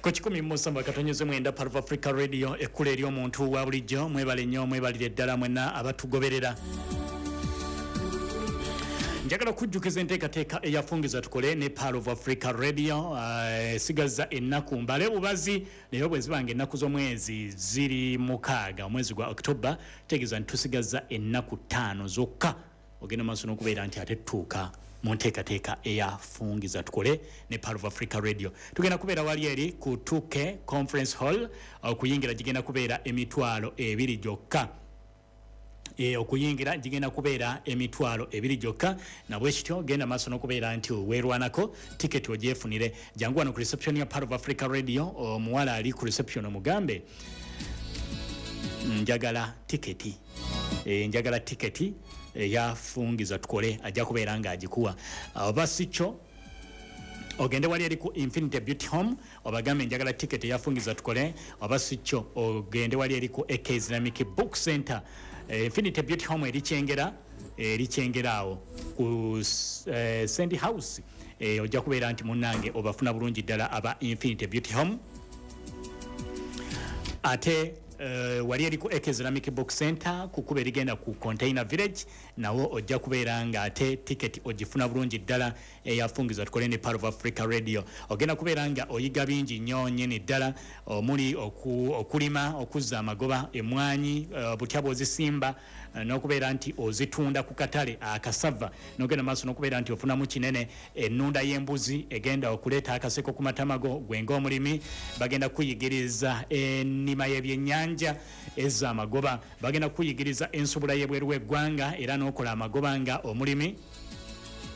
Ku 107.9 Part of Africa Radio, ekkula ery'omuntu wa bulijjo. Mwebale nnyo, mwebalire ddala mwenna abatugoberera. Njagala okujjukiza enteekateeka eyafungiza tukole ne Pearl of Africa Radio. Esigaza ennaku mbale bubazi, naye bwe zibanga ennaku z'omwezi ziri 6 omwezi gwa October, tegeeza nti tusigaza ennaku 5 zokka ogenda maaso n'okubeera nti ate tutuuka mu nteekateeka eyafungiza tukole ne Pearl of Africa Radio. Tugenda kubeera wali eri ku 2K Conference Hall. Okuyingira gigenda kubeera 20,000 gyokka. Okuyingira gigenda kubeera 20,000 gyokka. Nabwe kityo genda maaso n'okubeera nti weerwanako tiketi ogyefunire. Jangu wano ku reception ya Pearl of Africa Radio, omuwala ali ku reception omugambe njagala tiketi, njagala tiketi eyafungiza tukole, ajja kubeera ng'agikuwa. Oba si kyo ogende wali eri ku Infinity Beauty Home obagambe njagala tiketi eyafungiza tukole. Oba si kyo ogende wali eri ku AK Islamic Book Center. Infinity Beauty Home eri Kyengera, eri Kyengera awo ku Sandy House. Ojja kubeera nti munnange obafuna bulungi ddala aba Infinity Beauty Home. Ate wali eri ku AK Islamic Book Center ku kkubo erigenda ku Container Village, nawo ojja kubeera nga ate tiketi ogifuna bulungi ddala eyafungiza tukole ne Pearl of Africa Radio. Ogenda kubeera nga oyiga bingi nnyo nnyini ddala, omuli okulima, okuzza amagoba, emwanyi, butya bw'ozisimba, n'okubeera nti ozitunda ku katale akasava, n'ogenda maaso n'okubeera nti ofunamu kinene. Ennunda y'embuzi egenda okuleeta akaseko ku matama go gwe ng'omulimi. Bagenda kuyigiriza ennima y'ebyennyanja ezza amagoba, bagenda kuyigiriza ensubula y'ebweru w'eggwanga era n'okola amagoba nga omulimi.